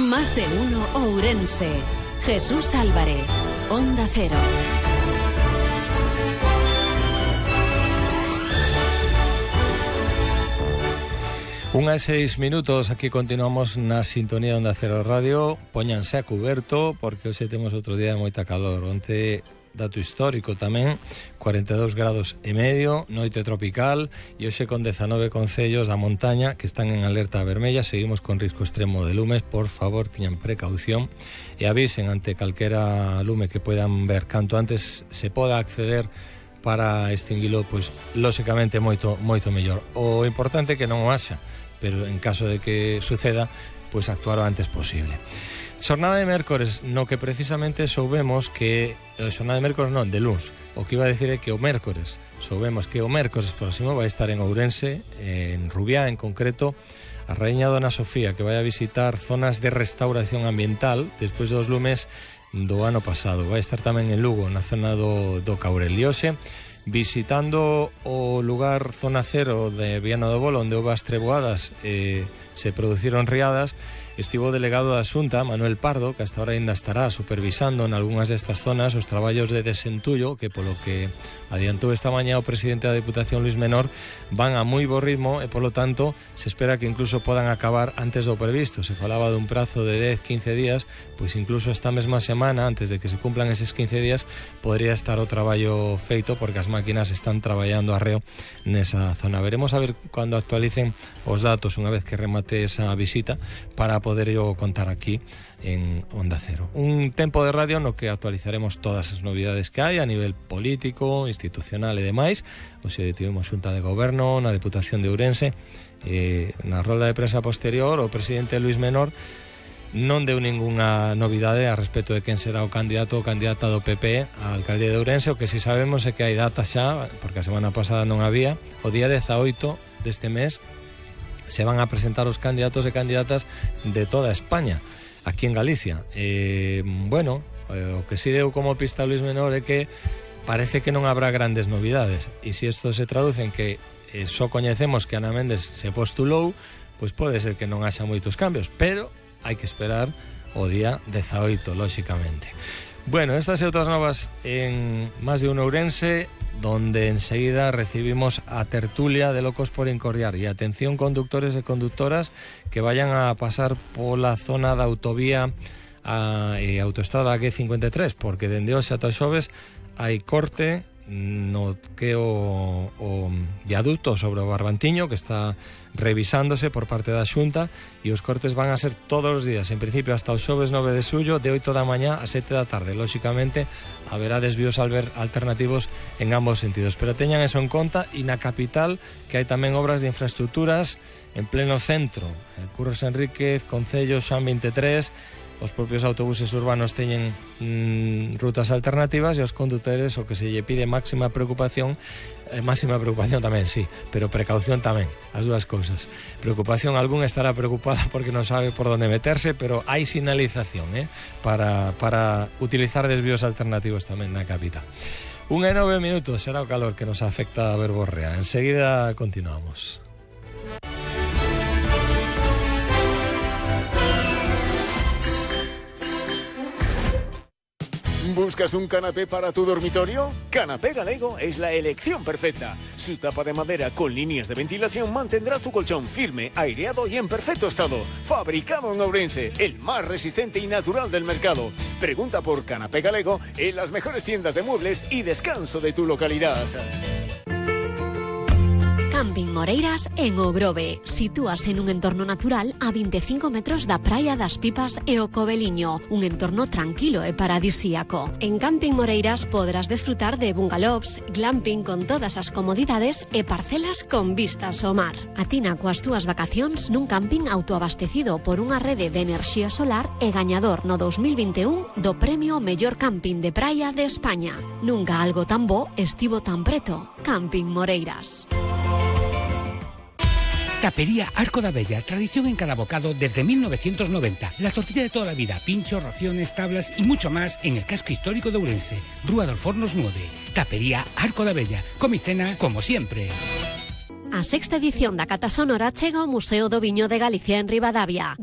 Más de uno Ourense. Jesús Álvarez, Onda Cero. Unha e 6 minutos, aquí continuamos na sintonía Onda Cero Radio. Póñanse a cuberto porque hoxe temos outro día de moita calor. Onte, dato histórico tamén, 42 grados e medio, noite tropical, e hoxe con 19 concellos da montaña que están en alerta vermella. Seguimos con risco extremo de lumes. Por favor, tiñan precaución e avisen ante calquera lume que puedan ver canto antes se poda acceder para extinguilo, pois lóxicamente moito mellor. O importante é que non o haxa, pero en caso de que suceda, pois actuar o antes posible. Xornada de mércores, no que precisamente soubemos que xornada de mércores non, de luns. O que iba a decir é que o mércores, soubemos que o mércores próximo vai estar en Ourense, en Rubiá en concreto, a raíña Dona Sofía, que vai a visitar zonas de restauración ambiental despois dos lumes do ano pasado. Vai estar tamén en Lugo, na zona do Caurel. E hoxe, visitando o lugar zona cero de Viana do Bolo, onde houve as treboadas se produciron riadas, estivo o delegado da Xunta, Manuel Pardo, que hasta ahora ainda estará supervisando en algunhas destas zonas os traballos de desentullo, que polo que adiantou esta mañá o presidente da Deputación, Luis Menor, van a moi bo ritmo e, polo tanto, se espera que incluso podan acabar antes do previsto. Se falaba dun prazo de 10-15 días, pois incluso esta mesma semana, antes de que se cumplan eses 15 días, podría estar o traballo feito, porque as máquinas están traballando arreo nesa zona. Veremos a ver cando actualicen os datos unha vez que remate esa visita para poder yo contar aquí en Onda Cero. Un tempo de radio no que actualizaremos todas as novidades que hai a nivel político, institucional e demais. Hoxe tivemos xunta de goberno na Deputación de Ourense. Na rolda de prensa posterior, o presidente Luis Menor non deu ningunha novidade a respecto de quen será o candidato ou candidata do PP á alcaldía de Ourense. O que si sabemos é que hai data xa, porque a semana pasada non había. O día 18 deste mes se van a presentar os candidatos e candidatas de toda España, aquí en Galicia. O que si deu como pista Luis Menor é que parece que non habrá grandes novidades, e se isto se traduce en que só coñecemos que Ana Méndez se postulou, pois pode ser que non haxa moitos cambios, pero hai que esperar o día 18, lóxicamente. Bueno, estas e outras novas en Más de un Ourense, donde enseguida recibimos a tertulia de Locos por Incordiar. E atención, conductores e conductoras que vayan a pasar pola zona da autovía e autoestrada G53, porque dende hoxe ata xoves hai corte no que o viaduto sobre o Barbantiño, que está revisándose por parte da Xunta, e os cortes van a ser todos os días, en principio hasta o xoves 9 de xullo, de 8 da mañá a 7 da tarde. Lóxicamente haberá desvíos alternativos en ambos sentidos, pero teñan eso en conta. E na capital, que hai tamén obras de infraestructuras en pleno centro, Curros Enríquez, Concello, Xan 23. Os propios autobuses urbanos teñen rutas alternativas, e os condutores o que se lle pide máxima preocupación tamén, sí, pero precaución tamén, as dúas cousas. Preocupación, algún estará preocupado porque non sabe por onde meterse, pero hai sinalización para utilizar desvíos alternativos tamén na capital. 1:09 minutos, será o calor que nos afecta a verborrea. Enseguida continuamos. ¿Buscas un canapé para tu dormitorio? Canapé Galego es la elección perfecta. Su tapa de madera con líneas de ventilación mantendrá tu colchón firme, aireado y en perfecto estado. Fabricado en Ourense, el más resistente y natural del mercado. Pregunta por Canapé Galego en las mejores tiendas de muebles y descanso de tu localidad. Camping Moreiras en Ogrove. Sitúase en un entorno natural a 25 metros da Praia das Pipas e o Coveliño, un entorno tranquilo e paradisíaco. En Camping Moreiras podrás desfrutar de bungalows, glamping con todas as comodidades e parcelas con vistas ao mar. Atina coas túas vacacións nun camping autoabastecido por unha rede de enerxía solar e gañador no 2021 do premio Mellor Camping de Praia de España. Nunca algo tan bo estivo tan preto. Camping Moreiras. Tapería Arco da Bella, tradición en cada bocado desde 1990. La tortilla de toda la vida, pinchos, raciones, tablas y mucho más en el casco histórico de Ourense. Rúa dos Fornos 9. Tapería Arco da Bella. Comicena como siempre. A sexta edición da Cata Sonora chega ao Museo do Viño de Galicia en Ribadavia.